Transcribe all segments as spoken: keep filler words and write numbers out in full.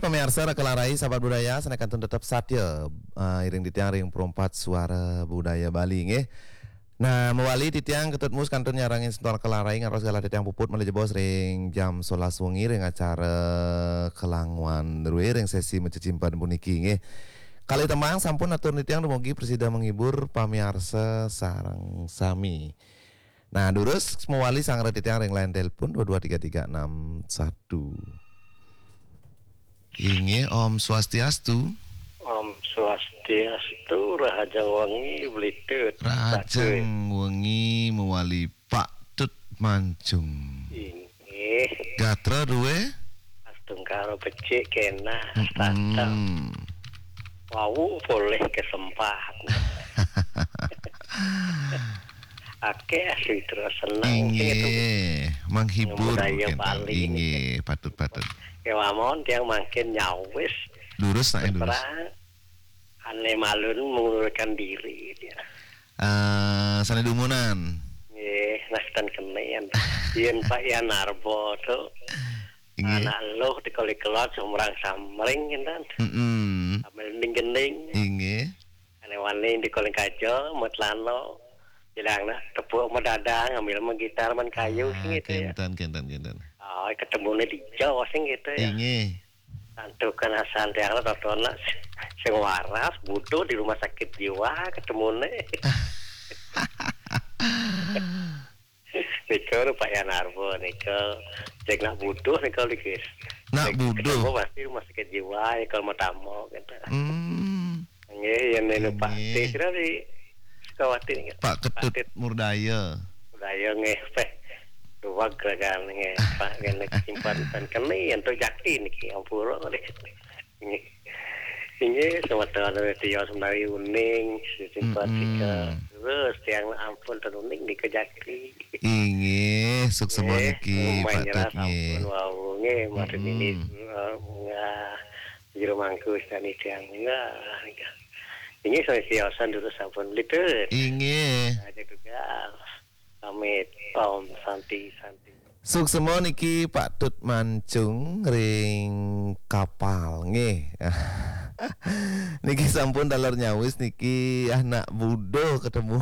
Pamiarsa Raka Larai, sahabat budaya, sané kantun tetep satia, eh, iring titiang ring Perempat Suara Budaya Bali, nggih. Nah, mawali titiang Ketut Mus kantun nyarengin semeton Raka Larai, ngantos galah titiang puput malih jebos ring jam sebelas wengi ring acara Kelanguan Rue ring sesi macecimpen puniki, nggih. Kalih tembang sampun atur titiang dumugi prasida menghibur pamiarsa sareng sami. Nah, durus mawali sareng titiang ring line telepon dua dua tiga tiga enam satu. Inggih, Om Swastiastu. Om Swastiastu, rahajeng wengi, Bli Tut. Rahajeng wengi mawali Pak Tut Mancung. Inggih. Gatra duwe? Astungkara becik kena, mm-mm, sata. Wau polih kesempat. Akeh sitra seneng sing itu. Inggih, menghibur. Budaya kenten. Bali. Inggih, patut, patut. Kewamon tiang mangkin nyawis. Durus, nak, durus. Terang, ane malun mengundurkan diri dia. Eh, sané dumunan. Nggih, nastan kenen. Yen Pak Yan Arbo tu. Inggih. Anak luh di kali kelot sumrang samring kenten. Mm-mm. Sambil gending-gending. Inggih. Ane wani di koling kaja, metlano. Bilang nak tepuk medadang, ngambil mah gitar, main kayu, sing gitu ya. Kenten, kenten, kenten. Oh, ketemunya di Jawa, sing gitu ya. Inggih. Santukan asan tiang lah, tonton nak sing waras, butuh di rumah sakit jiwa, ketemunya. Nika nu Pak Yan Arbo, nika. Cek nak butuh, nika, Likis. Nak butuh. Ketemu pasti rumah sakit jiwa, ya, kalau mau tamu, gitu. Hmm. Nggih, yen nenu Pak. Nggih. Teh kira di Sukawati niki. Pak Ketut Murdaya. Murdaya nggih, Peh. Duwag ragan nggih, Pak, ngene simpan ten kene yen to jakti niki, ampura nggih. Nggih. Inggih, semeton tios menawi uning, simpatiker. Mm-mm. Terus tiang ampun ten uning nika jakti. Inggih, suksema niki, Pak Tut, nggih. Sampun wau nggih, maksud ini, mm-mm, eh, nggih. Jero mangku istani tiang. Nah, ini saya siosan dulu sampun, Bli Tut. Inggih. Aja juga. Pamit, Om Santi, Santi. Suksema niki Pak Tut Mancung ring Kapal, nggih. Niki sampun taler nyawis niki anak budo ketemu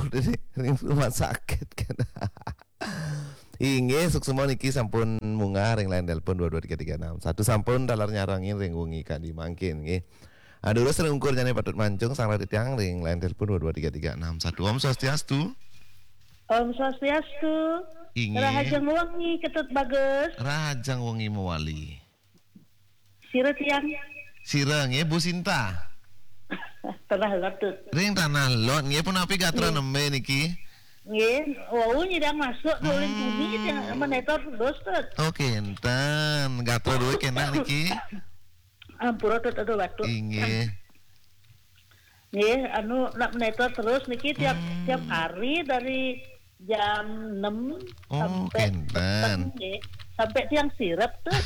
ring rumah sakit kan. Inggih, suksema niki sampun munggah ring line telepon dua dua tiga tiga enam satu, sampun taler nyarengin ring wengi kadi mangkin, nggih. Ah, durus ring ungkur jane Pak Tut Mancung, sareng titiang ring line telepon dua dua tiga tiga enam satu. Om Swastiastu. Om Swastiastu. Inggih. Rahajeng wengi, Ketut Bagus. Rahajeng wengi mawali. Sira tiang? Sira nggih, Bu Sinta. Tanah Lot, Tut. Ring Tanah Lot nggih, punapi gatra, nggih, nembe niki? Nggih, wau nyidang masuk ke ulin bumi, hmm, tiang menetor terus, Tut. Oh, kenten. Gatra duwe kenak niki? Ampura, Tut, aduh, batuk. Inggih. Nggih, anu, nak menetor terus niki tiap, hmm, tiap hari dari jam enam, oh, sampai kenten, peteng, nggih. Sampai tiang sirep tuh.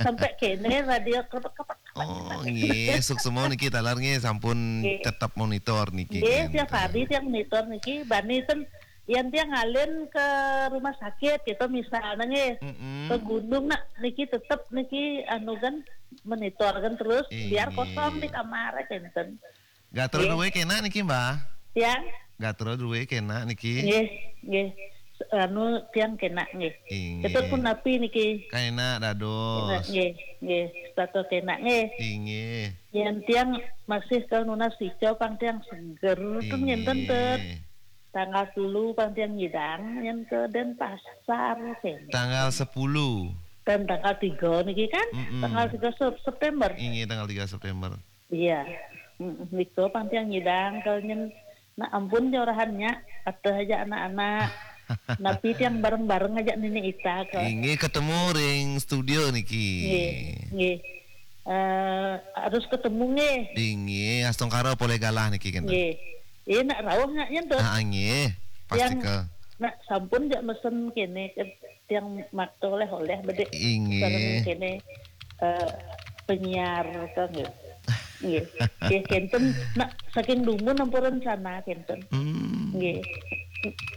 Sampai kene radio krepek-krepek. Oh, nggih, suksema niki taler nggih, sampun, nggih, tetep monitor niki, nggih, kenten, tiap hari tiang monitor niki, bani ten yen tiang ngalih ke rumah sakit, kita misalnya nggih, mm-mm, ke gunung nak niki tetep niki anu kan monitor kan terus, nggih, biar kosong di kamar kenten. Gatra, nggih, duwe kenak niki, Mbah? Tiang? Gatra duwe kenak niki? Nggih, nggih. Anu, tiang kenak nggih. Inggih. Ketut punapi niki? Kenak dados. Kenak, nggih, nggih. Setata kenak nggih. Inggih. Yen tiang masih ke nunas ica pang tiang seger, ten ngenten, ten. Inggih. Tanggal telu pang tiang nyidang, yen ke Denpasar kene. Tanggal sepuluh. Dan tanggal tiga niki kan? Mm-mm. Tanggal tiga Sep-, September. Inggih, tanggal tiga September. Iya. Mm, nika pang tiang nyidang, kalau nyen, nak ampun jorahannya, ada aja anak-anak. Napi tiang bareng-bareng aja nini ita ke. Inggih, ketemu ring studio niki. Nggih, nggih. Eh, harus ketemu nggih. Inggih, astungkara polih galah niki kenten. Nggih. Iya, nak rauh nak nyen tuh. Ah, nggih. Pasti tiang ke. Nak sampun jak mesen kene ke tiang makta oleh-oleh bedek. Inggih. Sareng kene, eh, penyiar kan nggih. Nggih. Nggih, kenten nak saking dumun ampun rencana kenten. Hmm. Nggih.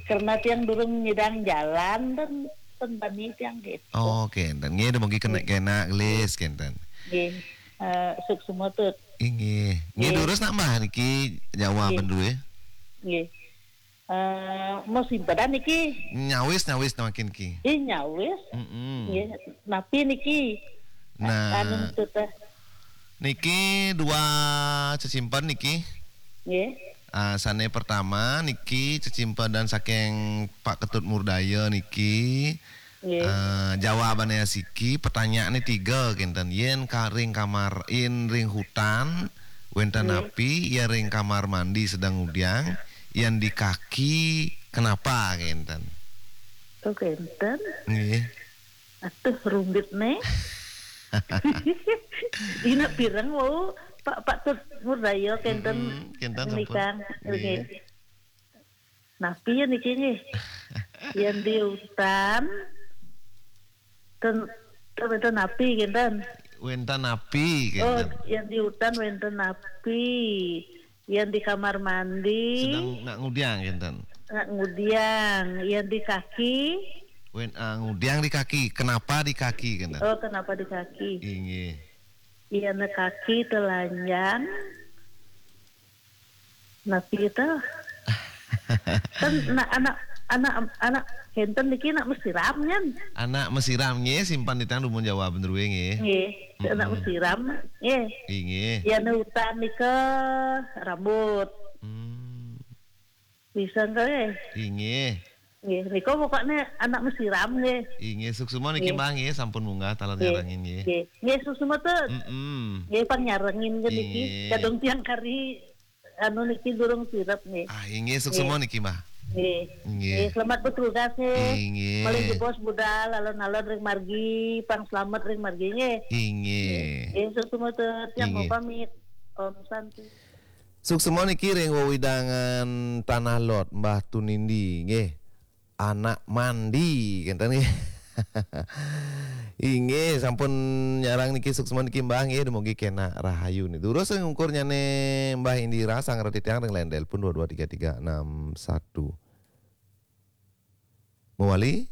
Karena tiang durung nyidang jalan dan ten bani tiang gitu. Oh, kenten. Nggih, dumugi kenak-kenak gelis kenten. Nggih. Eh, suksma, Tut. Inggih. Nggih, nggih, durus nak, Mbah, niki jawaban, nggih, duwe. Nggih. Eh, mau simpenan niki? Nyawis, nyawis mangkin ki. Nggih, nyawis. Mm-mm. Nggih, napi niki? Nah, anu, Tut, eh. Niki dua cecimpen niki. Nggih. Ah, sane pertama niki cecimpenan saking Pak Ketut Murdaya niki. Nggih. Eh, jawabane asiki, pertanyaane tiga kenten. Yen ka-, ring kamar, yen ring hutan, wenten, nggih, api, yen ring kamar mandi sedang ngudiang, yen di kaki, kenapa kenten? Oh, kenten. Nggih. Aduh, rumit ne. Dina pireng wau, Pak, Pak Tut Murdaya kenten. Mm-mm, kenten sampun. Menikang. Nggih. Nggih. Napi ya niki nggih? Yen di hutan, ten, ten, wenten api, kenten. Wenten api, oh, kenten. Yen di hutan wenten api. Yen di kamar mandi. Sedang nak ngudiang, kenten. Nak ngudiang. Yen di kaki. Wen, ah, ngudiang di kaki. Kenapa di kaki, kenten? Oh, kenapa di kaki? Inggih. Yen kaki telanjang. Napi to? Kan nak anak, anak, anak kenten niki nak mesiram, nyen? Anak mesiram, nggih, simpen titiang dumun jawaban druwe, nggih. Nggih, anak, mm-mm, mesiram, nggih. Inggih. Yen hutan nika rambut. Hmm. Bisa nggih? Inggih. Nggih, nika pokokne anak mesiram nggih. Inggih, suksma niki, nggih, Mbah, nggih, sampun munggah taler, nggih, nyarengin nggih. Nggih, nggih, suksma, Tut. Mm-mm. Nggih, panyarengin nggih niki. Inggih. Kadung tiang kari anu niki durung sirep nggih. Ah, inggih, suksma nggih niki, Mbah. Nggih. Nggih. Nggih, selamat bertugas nggih. Inggih. Malih jebos budal alon-alon ring margi, pang selamat ring margi nggih. Inggih. Nggih, suksma, Tut. Tiang mau, inggih, pamit. Om Santi. Suksma niki ring wewidangan Tanah Lot, Mbah Tunindi, nggih. Anak mandi, kenten nggih. Inggih, sampun nyarang niki, suksma niki, Mbah, nggih, dumugi kenak rahayu niki. Durus ring ungkur nyane Mbah Indira, sangra titiang ring line telepon dua dua tiga tiga enam satu. Mawali,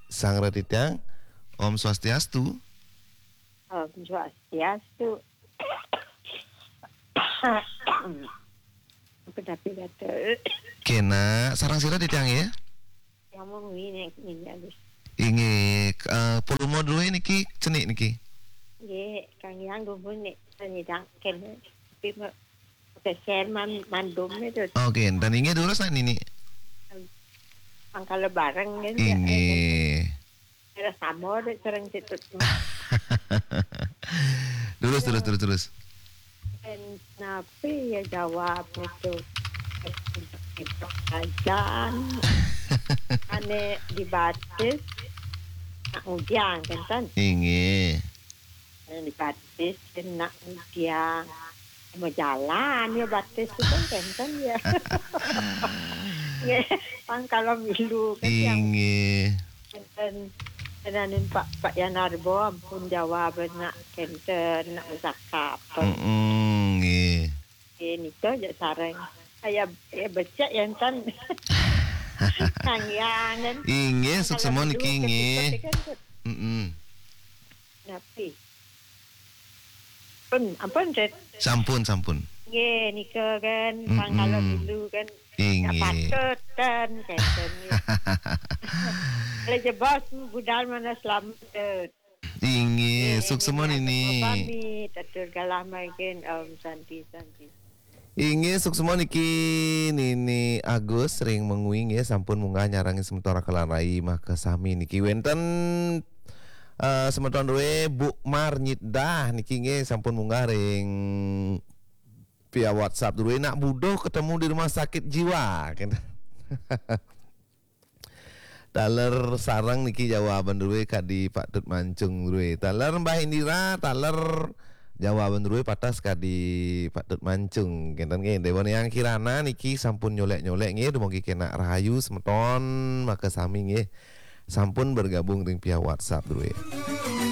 sangra titiang, Om Swastiastu. Om Swastiastu. Kedapi kata. Kenak, sareng sira titiang ya? Yang mau ngene, ngene, Agus. Inggih, eh, puluh modul niki cenik niki. Nggih, Kang Yang gumun nek nyidang kene. Tapi me-, peser man-, mandum itu. Oke, dan inggih durus nak nini. Mangkala bareng kan, ya, inggih. Kira sama deh, sareng situ. Terus, terus, terus, terus. Dan napi ya jawab itu? Itu ajan. Ane dibatis, nak ngudiang, kan, kan? Inggih. Ane dibatis, nak ngudiang. Mau jalan ya batis itu, kan, kan, ya. Ya, pang kalau milu, kan, yang inggih. Kenten, tenanin Pak, Pak Yanarbo, ampun jawab nak kenten, nak musakap. Mm-mm, nggih. Nggih, nika aja sareng. Saya, ya becek ya, enten. Kang Yang, kan? Inggih, kalau suksma niki, dulu nggih. Kan, kan, mm-mm. Napi? Pun, ampun, Tet. Sampun, sampun. Nggih, nika kan, mm-mm, pang kalau dulu kan, inggih, ya patut kan, kenten. Lah jebos budal mana selamat, Tet. Inggih, nggih, suksma nggih, nini. Atur pamit, atur galah mangkin, Om Santi, Santi. Inggih, suksma niki Nini Agus ring Mengwi nggih, sampun munggah nyarengin semeton Raka lan Rai makasami niki. Wenten, eh, semeton druwe Bu Mar Nyitdah niki nggih sampun munggah ring via WhatsApp druwe, nak buduh ketemu di rumah sakit jiwa. Taler sareng niki jawaban druwe kadi Pak Tut Mancung druwe. Taler Mbah Indira, taler jawaban druwe patas kadi Pak Tut Mancung. Kenten nggih, Dewa Niang Kirana niki sampun nyolek-nyolek nggih, dumugi kenak rahayu semeton makasami nggih. Sampun bergabung ring via WhatsApp druwe.